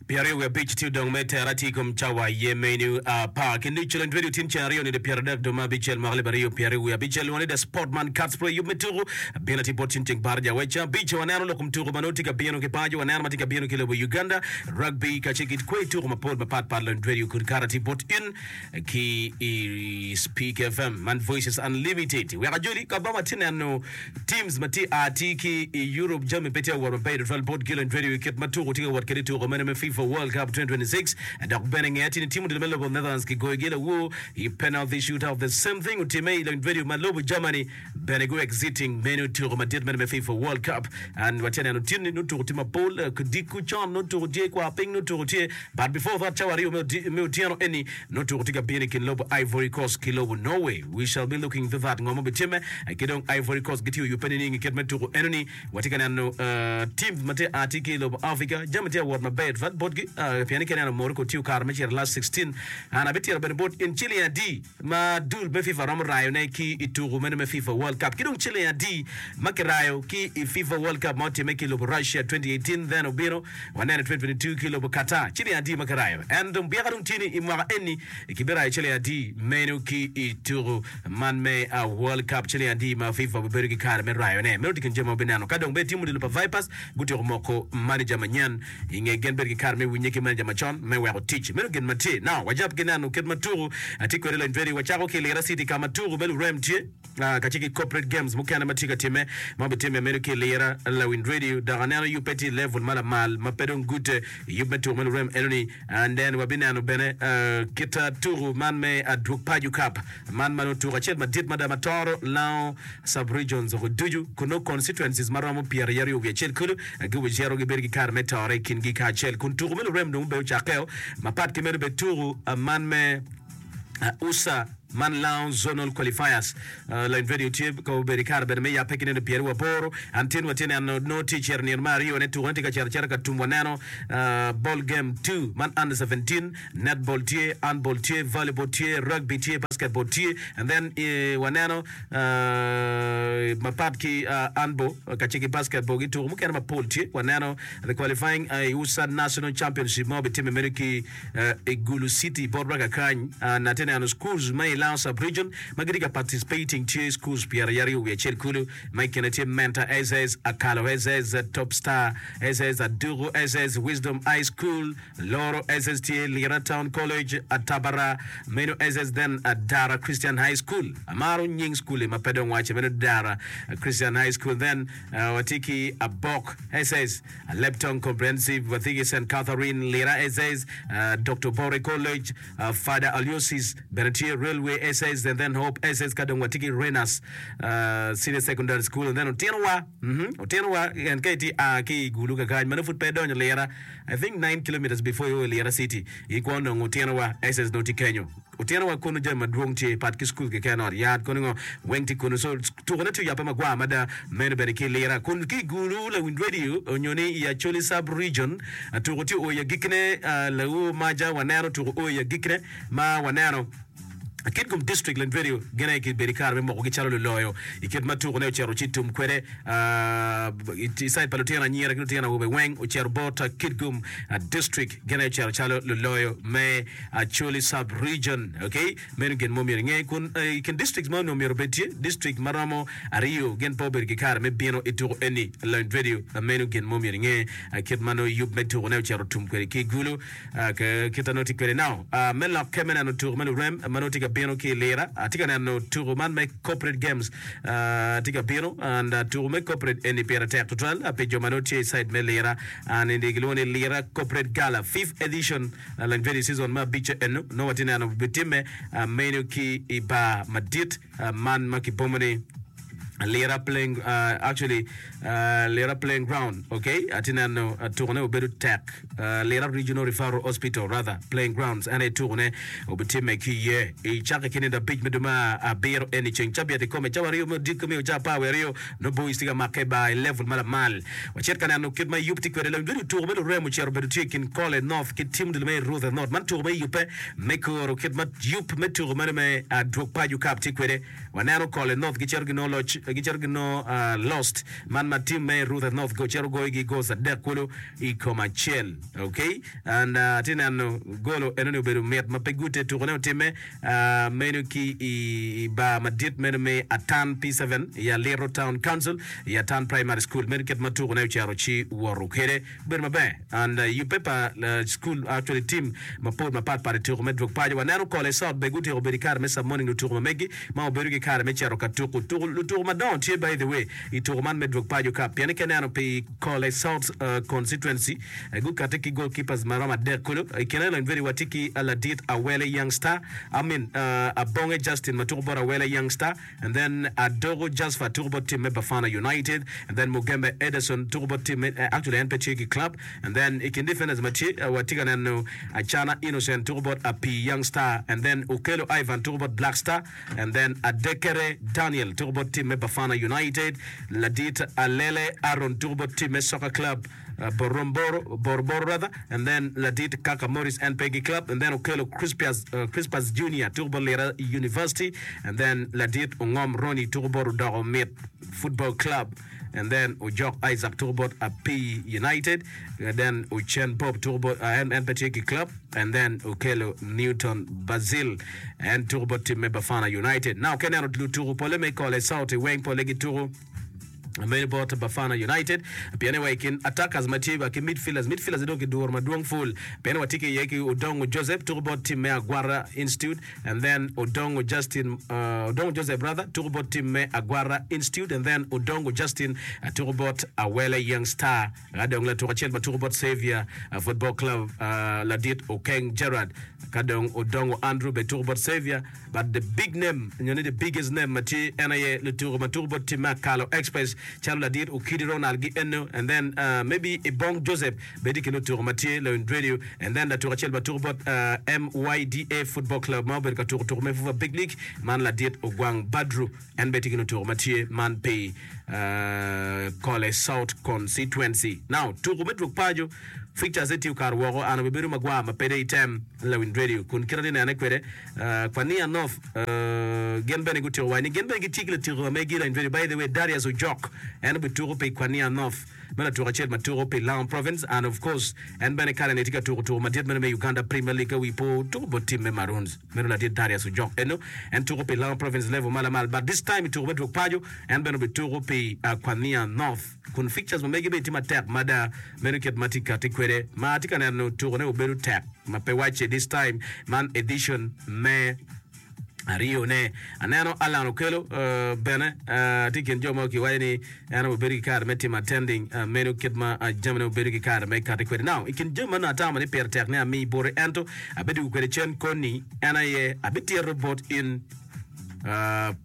25 tye odong me tera tye i kom cawa aye menu apar ki nucu lony radio tin ceng aryo nino 30 dwe ma abicel mwaka 2026 lwongo ni The Sportman Cats Pro yub me tuku bino atir bot tin ceng baraja weca abic waneno lok kom tuku ma nongo tye ka bino ki paco waneno ma tye ka bino ki lobo Uganda rugby kacel ki kwer tuku mapol mapat pat lony radio kod kare atir bot in ki i Speak FM man Voices Unlimited wek ajoli ka ba watye neno Teams ma tye a tye ki i Europe jami pe tye ka wot maber tutwal bot Gillan Radio i kit ma tuko tye ka wot kwede i tuko meno me FIFA World Cup 2026 dok bene nge atir ni tim odilo me lobo Netherlands kigoyogi lawor i penalty shootout the same thing otimme i Lony Radio ma lobo Germany bene gu exiting meno tuko madit meno me FIFA World Cup and watye ka neno tin ni nongo tuko tye mapol odiko con nongo tuko tye kwar piny nongo tuko tye but before that cawa aryo me otyeno eni Nongo tuko tye ka bino i kin lobo Ivory Coast ki lobo Norway. We shall be looking into that ngo ma obitimme ki dong Ivory Coast gitye oyubbe nining i kit me tuko enoni. Watye ka neno teams ma tye a tye ki i lobo Africa jami tye ka wot maber tutwal botgi pien ni ka ineno Morocco tye okato me cito last 16. An abitito bene bot in ciling adi ma dul me FIFA romo rayone ki i tuko meno me FIFA World Cup ki dong ciling adi ma kirayo ki i FIFA World Cup ma otimme ki i lobo Russia 2018 then obino Waneno i 2022 ki i lobo Qatar, ciling adi ma kirayo? En dong byeka dong tye ni i mwaka eni kibirayo ciling adi meno ki i tuku man me World Cup? Ciling adi ma FIFA obibedo ki kare me rayone? Meno tye kin jami ma wabineno. Ka dong bene tim odilo pa Vipers gutyeko moko maneja manyen i nge gin bedo ki kare me winye ki maneja macon me weko tic. Meno gin ma tye. Now, wajab ki neno kit ma tuku tye kwede lony veri. Wacako ki i Lira City ka ma tuku me lurem tye. Kacel ki corporate games mukene ma tye ka timme ma obitimme meno ki i lira lawiny radio dok aneno yubbe tye i level ma lamal ma pe dong gute i yub me tuku me lurem enoni and then wabineno bene kit tuku man me adwog paco cup man ma nongo tuku acel madit mada ma toro lango sub regions oko ducu kun nongo constituencies ma romo 21 kulu gubicito gibedo ki kare me tore i kingi kacel kun tuku me lurem dong bene ocakkeo mapat ki meno bene tuku man me usa Man Lounge Zonal Qualifiers Line Radio tye ka obedo i kare bene me yabbe ki nino pyeraryo aboro. An tin watye neno nongo tye cito nino me aryo ne tuko ne tye ka cito acita ka tum waneno ball game two man under 17 netball tye, handball tye, volleyball tye, rugby tye, basketball tye and then waneno mapat ki handball kacel ki basketball ki tuko mukene mapol tye waneno the qualifying usa National Championship ma obitimme meno ki I Gulu City bot wa kakany an atye neno schools ma i Lango Sub Region ma gitye ka participating tye schools pyeraryo wiye acel kulu ma i kine tye Menta SS, Akalo SS, Top Star SS, Aduku SS, Wisdom High School, Loro SS tye Lira Town College, Atabara meno SS then Dara Christian High School. Amaro nying school-li ma pe dong wace meno Dara Christian High School then watye ki Abok SS. Leptong Comprehensive, Wathigi Saint Catherine, Lira SS, Doctor Bore College, Father Aloysius bene tye, Railway SS and then Hope SS ka dong watye ki Renas Senior Secondary School and then Otinowa, mhm, Otinowa en ka itye a ki i Gulu kakany ma nongo pud pe idonyo Lira, I think nine kilometres before io i Lira City, ikwo nongo Otinowa SS nongo tye kenyo. Otyeno wa kunu jami madwong tye pat ki school keken ot yat kono ngo weng tye kunu so tuko ne tye oyape magwar mada meno bene ki lira kun ki gulu lawiny radio onyo ni i Acholi sub region tuko tye o i agikki ne laur maja waneno tuko o i agikki ne ma waneno Kitgum district lawiny radio gin aye kibedo ki kare me moko gi calo luloyo i kit ma tuko ne ocito ci tum kwede i side pa lutino anyira ki lutino awobe weng ocito bot Kitgum district gin aye ocito calo luloyo me Acholi Sub Region ok meno gin ma omyero inge kun i kin districts ma onongo myero obed tye district ma romo aryo gin pe obedo ki kare me bino i tuko eni Lony Radio meno gin ma omyero inge kit ma nongo yub me tuko ne ocito tum kwede ki Gulu kit ma nongo tye kwede now me lokke me neno tuko me lurem ma nongo tye ka bino ki i Lira atye ka neno tuko man me corporate games tye ka bino and tuko me corporate eni pire tek tutwal pi jo ma nongo tye i side me Lira and gilwongo ni Lira Corporate Gala fifth edition Lanyvedi season me abicce eno nongo watye neno bitimme meno ki i bar madit man ma kibomo ni Lira playing actually Lira playing ground ok atye neno tukone obedo tek Lira Regional Referral Hospital rather playing grounds en aye tukone obitimme ki iye i cakke ki nindo abic me dwe me abiro eni ceng cabit ikome cawa aryo me odiko me oca apar wiye aryo nongo boys tye ka makke i bar i level ma lamal. Wacit ka neno kit ma yub tye kwede. Lawiny bedo tuko me lurem ocito obedo tye i kin Kole North ki tim odilo me Ruther North. Man tuko ma iyubbe me koro kit ma yub me tuko meno me Adwog Paco Cup tye kwede. Waneno Kole North gicito ginongo loc. gicito ginongo lost man ma team me Ruther North cito goyogi goals adek kulu i kom acel. Okay and atye neno golo enoni obedo mit ma pe gute tukone otimme meno ki i bar madit meno me Atan P7 i Aliro Town Council i Atan Primary School meno kit ma tukone ocito ci woto kwede. Obedo maber and yubbe pa school actually team mapol mapat pat i tuko me dwog paco. Waneno Kole South bene gutyeko bedo i kare me summoning lutuko ma megi ma obedo ki kare me cito ka tuko tuko lutuko madongo tye by the way i tuko man me dwog paco cup pien ka ineno pi Kole South constituency gukati ki goalkeepers maromo adek kulu. I kine lony very watye ki ladit Awele Young Star I mean Abonge Justin ma tuko bot Awele Young Star. And then Adogo Jasper tuko bot team me Bafana United and then Mugembe Ederson tuko bot team me actually en pe tye ki club and then i kin defenders ma tye watye ka neno Acana Innocent tuko bot Apii Young Star and then Okello Ivan tuko bot Black Star and then Adekere Daniel tuko bot team me Bafana United Ladit Alele Aaron tuko bot team me Soccer Club Boromboro, Boroboro rather, and then ladit Kaka Morris en pe ki club, and then Okello Crispius, Crispus Junior tuko bot Lira University, and then ladit Ongom Ronnie tuko bot Odoko Mit Football Club, and then Ojok Isaac tuko bot Apii United, and then Ochen Bob tuko bot, en, en pe tye ki club, and then Okello Newton Basil en tuko bot team me Bafana United. Now ka ineno lutuko pole me Kole South weng pole gituko Meno bot Bafana United pien wa i kin attackers ma tye wa ki midfielders, midfielders dong kiduro madwong full pien watye ki iye ki Odongo Joseph tuko bot team me Agwara Institute and then Odongo Justin Odongo Joseph rather tuko bot team me Agwara Institute and then Odongo Justin tuko bot Awele Young Star ka dong latuk acel ma tuko bot Saviour Football Club ladit Okeng Gerard ka dong Odongo Andrew bene tuko bot Saviour But the big name nyo ni the biggest name ma tye en aye lutuku ma tuku bot team me Akalo Express calo ladit Okidi Ronald gi eno and then maybe Ibong Joseph bene tye i kin lutuku ma tye lawiny radio and then latuku acel ma tuku bot MYDA Football Club ma obedo ka tuku tuku me FUFA Big League man ladit Ogwang Badru en bene tye i kin lutuku ma tye man pi Kole South Constituency. Now tuku me dwog paco fixtures ne tye okato woko an obibedo magwar ma pede item lawiny radio kun kit atye nene kwede Kwania North gin bene gutyeko waco ni gin bene gitye ki latiko ma megi lawiny radio by the way Darius Ojok en obituko pi Kwania North me latuko acel ma tuko pi Lango Province and of course en bene kare ni tye ka tuko tuko madit meno me Uganda Premier League ka wi po tuko bot team me Maroons. Meno ladit Darius Ojok eno en tuko pi Lango Province level ma lamal but this time i tuko me dwog paco en bene obituko pi Kwania North kun fixtures ma mege bene tye matek mada meno kit ma tye kati kwede ma atye ka neno tukone obedo tek ma pe wacce this time man edition me aryone. Aneno Allan Okello bene tye i kin jo ma kiwaco ni en obedo ki kare me timo attending meno kit ma jamine obedo ki kare me kati kwede. Now, i kin jami ma nongo atamo ni pire tek ni ami boti ento abidwogo kwede cen koni en aye abitito bot in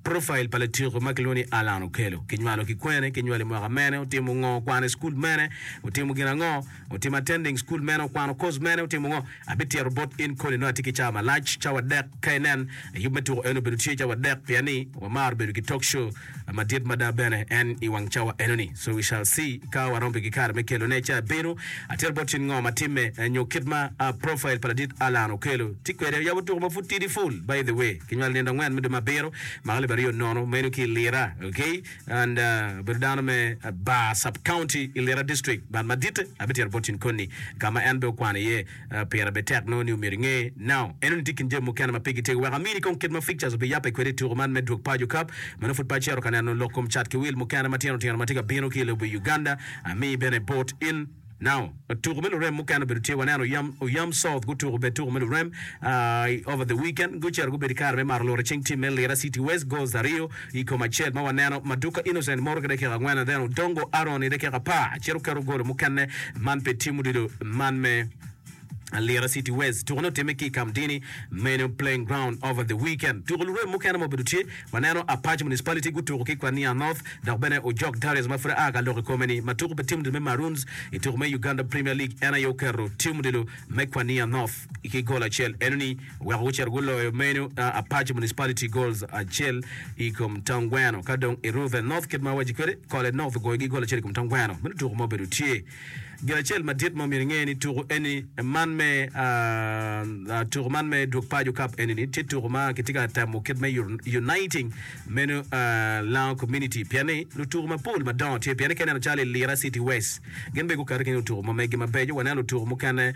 profile pa latyeko ma kilwongo ni Allan Okello. Kinywalo ki kwene, kinywalo i mwaka mene, otimo ngo, okwano i cukul mene, otimo gin ango, otimo attending cukul mene, okwano course mene, otimo ngo. Abitito bot in koni nongo atye ki cawa malac, cawa adek ka inen yub me tuko eno obedo tye cawa adek pien ni wamaro bedo ki talk show madit mada bene en i wang cawa eno ni so we shall see ka warom ki kare me kelo ne ca bino atito bot in ngo ma timme nyo kit ma profile pa ladit Allan Okello tye kwede yabo tuko ma pud tidi full by the way kinywalo nino angwen me dwe me abiro mwaka alip aryo nono meno ki i Lira okay And obedo dano me Bar Sub-County i Lira District. But maditte abitito bot in koni ka ma en bene okwano iye pire bene tek nongo ni omyero inge. Now enoni tye kin jami mukene ma pigi tego. Wek amini kong kit ma fixtures obiyabbe kwede i tuko man me dwog paco cup. Meno pud pe acito ka neno lok kom cat ki wil mukene matino tino ma tye ka bino ki i lobo Uganda. Amii bene bot in. Now, tuko me lurem mukene obedo tye, waneno Oyam, Oyam South gutuko bene tuko me lurem over the weekend, gucito gubedo i kare me mato lurre cing team me Lira City West goals aryo i kom acel ma waneno Maduka Innocent moro ki dakika angwen and then Odongo Aaron i dakika apar cito keto golo mukene man pe team odilo man me Lira City West. Tukone otimme ki i Kamdini meno playing ground over the weekend. Tuko lurem mukene ma obedo tye, waneno Apac Municipality gutuko ki Kwania North dok bene Ojok Darius ma pud aa ka lok i kome-ni ma tuko pi tim odilo me Maroons i tuko me Uganda Premier League en aye oketo tim odilo me Kwania North ki gol acel enoni oweko gucito guloyo meno Apac Municipality goals acel i kom Tongweno ka dong i Ruthe North kit ma awaci kwede Kole North ogoyogi gol acel i kom Tongweno meno tuko ma obedo tye. Gin acel madit ma omyero inge ni tuku eni man me tuku man me Dwog Paco Cup eni ni tye tuku ma kitye ka temo kit me uniting meno Lango community pien ni lutuku mapol madongo tye pien ni ka ineno calo i Lira City West gin bene guketo ki lutuku ma megi mabeco waneno lutuku mukene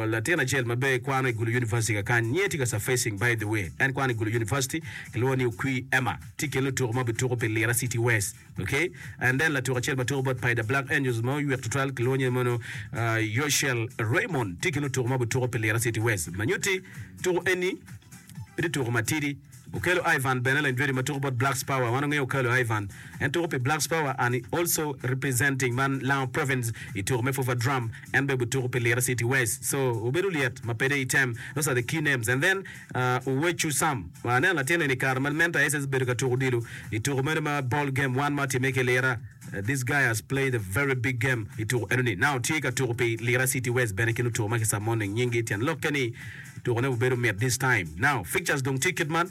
latin acel ma bene kwano i Gulu University kakany nyinge tye ka surfacing by the way en kwano i Gulu University kilwongo ni Okwi Emma tye i kin lutuku ma obituko pi Lira City West. Ok and then latuk acel ma tuko bot Paida Black Angels ma oywek tutwal kilwongo nyinge mono Yoshel Raymond tye ki lutuko ma gutuko pi Lira City West ma nyutti tuko eni pe tye tuko matidi. Okello Ivan bene lanyjwedi ma tuko bot Blacks Power wan wangeyo Okello Ivan en tuko pi Blacks Power and he also representing man Lango Province i tuko me Fufa Drum en bene otuko pi Lira City West so obedo lyet ma pede item those are the key names and then Owecu Sam, Aneno latin eni i kare ma Mentor SS obedo ka tuko odilo i tuko meno ma ball game one ma otimme ki Lira. This guy has played a very big game i tuko eno ni. Now tye ka tuko pi Lira City West bene ki lutuko ma ki summoning nyinggi tyen lokke ni tukone obedo mit this time. Now fixtures dong tye kit man,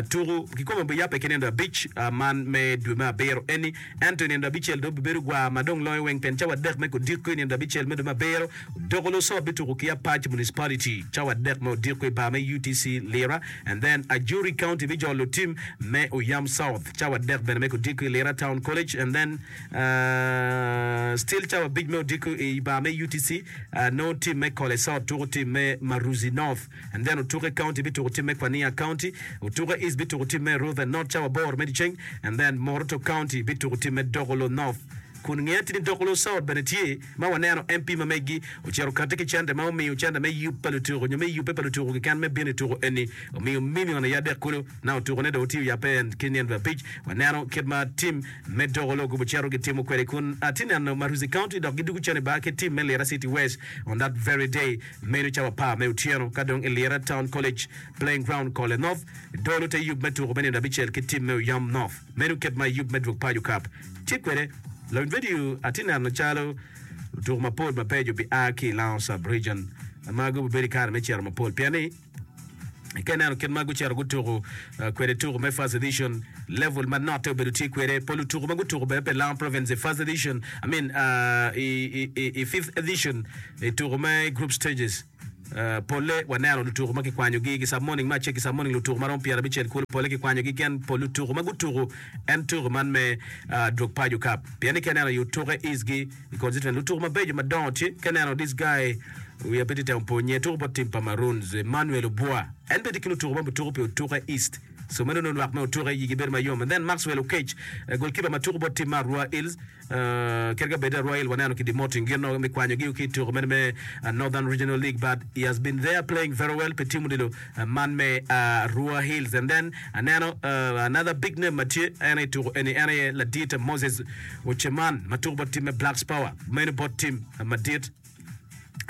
tuko kikome biyabbe ki nindo abic man me dwe me abiro eni ento i nindo abicel dong bibedo gwar ma dong loyo weng pien cawa adek me kodiko i nindo abicel me dwe me abiro Doko Lusot bituko ki Apac Municipality cawa adek me odiko i bar me UTC Lira and then Ajuri County bijolo tim me Oyam South cawa adek bene me kodiko i Lira Town College and then still cawa abic me odiko i bar me UTC nongo tim me Kole South tuko tim me Maruzi North and then Otuke County bituko tim me Kwania County, Otuke East bituko tim me Ruthe North cawa aboro me dyeceng and then Moroto County bituko tim me Dokolo North. Kun nge atir ni Dokolo South bene tye ma waneno MP ma megi ocito okati ki cente ma omiyo cente me yub pa lutuku nyo me yubbe pa lutuku keken me bino i tuku eni omiyo million aye adek kulu na otuku ne dong otiyo yabbe en ki nino abic waneno kit ma team me Dokolo gubu cito gitimo kwede kun atye neno Maruzi County dok gidugu cen i bar ki team me Lira City West on that very day meno cawa apar me otyeno ka dong i Lira Town College Playing Ground Kole North dolo te yub me tuku me nino abicel ki team me Oyam North meno kit ma yub me dwog paco cup Tye kwede, lawiny redio atye neno calo lutuku mapol mabeco bia ki i Lango Sub-Region ma gubibedo i kare me cito mapol pien ni ka ineno kit ma gucito gutuku kwede tuku me First Edition level ma note obedo tye kwede pol lutuku ma gutuku bene pi Lango Province i First Edition I mean i Fifth Edition i tuku me Group Stages. Polle waneno lutuku ma kikwanyogi ki morning me acel ki morning lutuku ma romo 50 kulu polle kikwanyogi gin pol lutuku ma gutuku en tuku man me dwog paco cup pien ni ka ineno i otuke is gi i constituent lutuku mabeco madongo tye ka ineno this guy wiya pe tye temo po nyinge tuku bot team pa Maroons Emmanuel Obua en bene tye ki lutuku ma gutuku pi otuke East so meno nongo lwak me otuke yigi bedo mayom and then Maxwell Okech goalkeeper ma tuku bot team me Arua Hills Kadi ka bed Arua Hill waneno ki demoting gin me kwanyogi ki i tuko meno me Northern Regional League but he has been there playing very well pi team odilo man me Arua Hills and then aneno another big name ma tye en i tuko eni en aye ladit Moses Oceman ma tuko bot team me Blacks Power meno bot team madit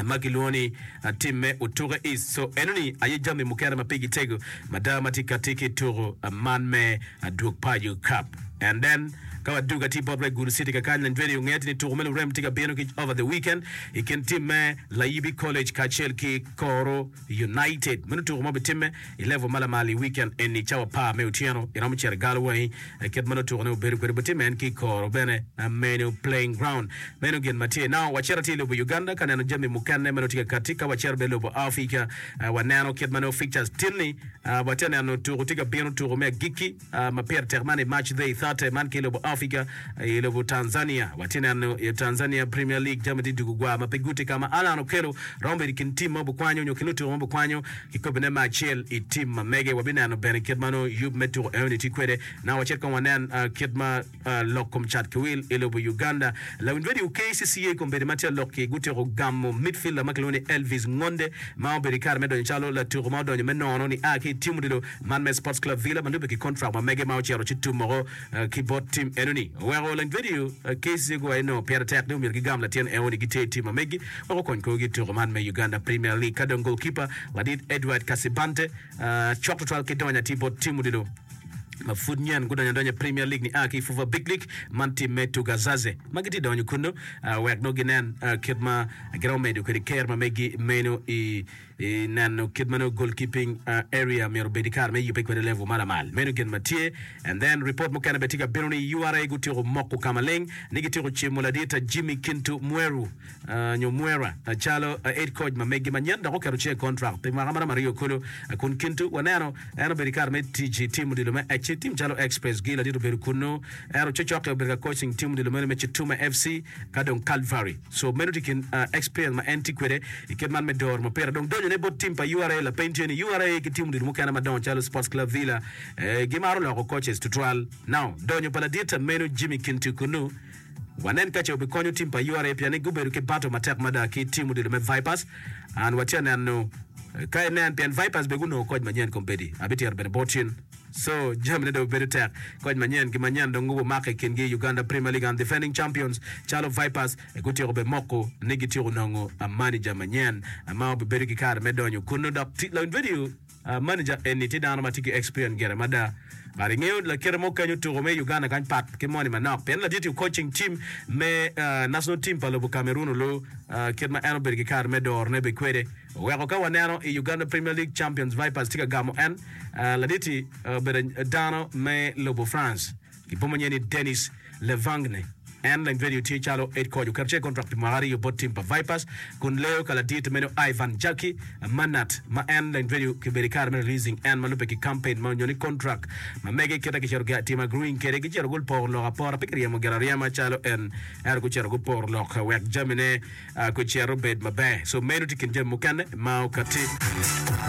ma kilwongo ni tim me Otuke East. So enoni aye jami mukene ma pigi tego mada ma tye kati ki tuko man me Dwog Paco Cup. And then ka wadugo atir bot Red Gulu City kakany Lanjwedi ongeyo ni tuko me lurem tye ka bino ki over the weekend i kin tim me Layibi College kacel ki Koro United. Meno tuko ma obitimme i level ma lamal i weekend eni cawa apar me otyeno. Iromo cito i galo wangi kit ma nongo tukone obedo kwede bitimme en ki i koro bene meno playing ground. Meno gin ma tye. Now wacito atir i lobo Uganda ka neno jami mukene ma nongo tye ka katti. Ka wacito bene i lobo Africa waneno kit ma nongo fixtures tin-ni watye ka neno tuko tye ka bino tuko me agikki. Ma pire tek man i March day 30 man ki i lobo Africa i lobo Tanzania. Watye neno i Tanzania Premier League jami tye dugo gwa ma pe guti ka ma Allan Okello romo bedo i kin tim ma obikwanyo nyo kin lutuko ma obikwanyo kikobine me acel i tim ma mege. Wabineno bene kit ma nongo yub me tuko enoni tye kwede. Now wacit kong wanen kit ma lok kom cat ki wil i lobo Uganda. Lawiny radio KCCA kombeddi ma tye alok-ki gutyeko gamo midfielder ma kilwongo ni Elvis Ngonde ma obedo i kare me donyo calo latuko ma odonyo me nono nia ki i tim odilo man me Sports Club Villa ma lubbe ki kontrak ma mege ma ocito ci tum woko ki bot tim enoni. Oweko lawiny radio KCCA guwaco ni nongo pire tek ni omyero gigam latin enoni giter i tim ma megi wek okony korgi i tuko man me Uganda Premier League. Ka dong goalkeeper ladit Edward Kasibante cok tutwal ki donyo atir bot tim odilo. ma pud nyen gudonyo adonya i Premier League nia ki i FUFA Big League man tim me Tugazaze ma gitye donyo kunnu wek nongo ginen kit ma giromo medo kwede ker ma megi meno i neno kit ma nongo goalkeeping area myero obed ki kare me yubbe kwede level ma lamal. Meno gin ma tye. And then report mukene bene tye ka bino ni URA gutyeko moko ka maleng ni gityeko cimo ladit Jimmy Kintu Mweru nyo Mwera calo head coach ma megi manyen dok oketo cinge i contract pi mwaka maromo aryo kulu. Kun Kintu waneno en obedo i kare me tic i tim odilo me Ec tim calo Express gi ladit obedo kunnu ento cocokke obedo ka coaching tim odilo meno me Chituma FC ka dong Calvary. So meno tye kin experience ma en tye kwede i kit man me doro mupira. Dong donyone bot tim pa URA lapeny tye ni URA ki tim odilo mukene madongo calo Sports Club Villa gimaro loko coaches tutwal. Now donyo pa ladit meno Jimmy Kintu kunnu Wanen ka ce obikonyo tim pa URA pien ni gubedo ki battle matek mada ki tim odilo me Vipers. And watye ka neno ka inen pien Vipers bene gunongo koc manyen kombeddi. Abitito bene bot in. So jamine dong bedo tek. Koc manyen ki manyen dong gubumako i kingi Uganda Premier League and defending champions calo Vipers gutyeko bene moko ni gityeko nongo manager manyen ma obibedo ki kare me donyo kunnu dok lawiny video Manager eni tye dano ma tye ki experience gire mada but ingeyo lakite mo kenyo tuko me Uganda kany pat ki moni manok pien ladit tye coaching team me national team pa lobo Cameroon olu kit ma en obedo ki kare me doro ne be kwede oweko ka waneno i Uganda Premier League Champions Vipers tye ka gamo en laditi obedo dano me lobo France. Kiboma nyen ni Denis Levangne. En leng radio tye calo head coach oketo ce contract pi mwaka ariyo bot team pa Vipers kun leyo ka ladit meno Ivan Jackie Manat ma en leng radio kibedo ikare me releasing en ma lube ki campaign ma onyo ni contract ma mege kite kicito timo agreeing kwede gicito guporo lok apora pe kiryemo gire aryema calo en ento gucito guporo lok wek jamine gucit obed maber so meno tye kin jami mukene ma okati.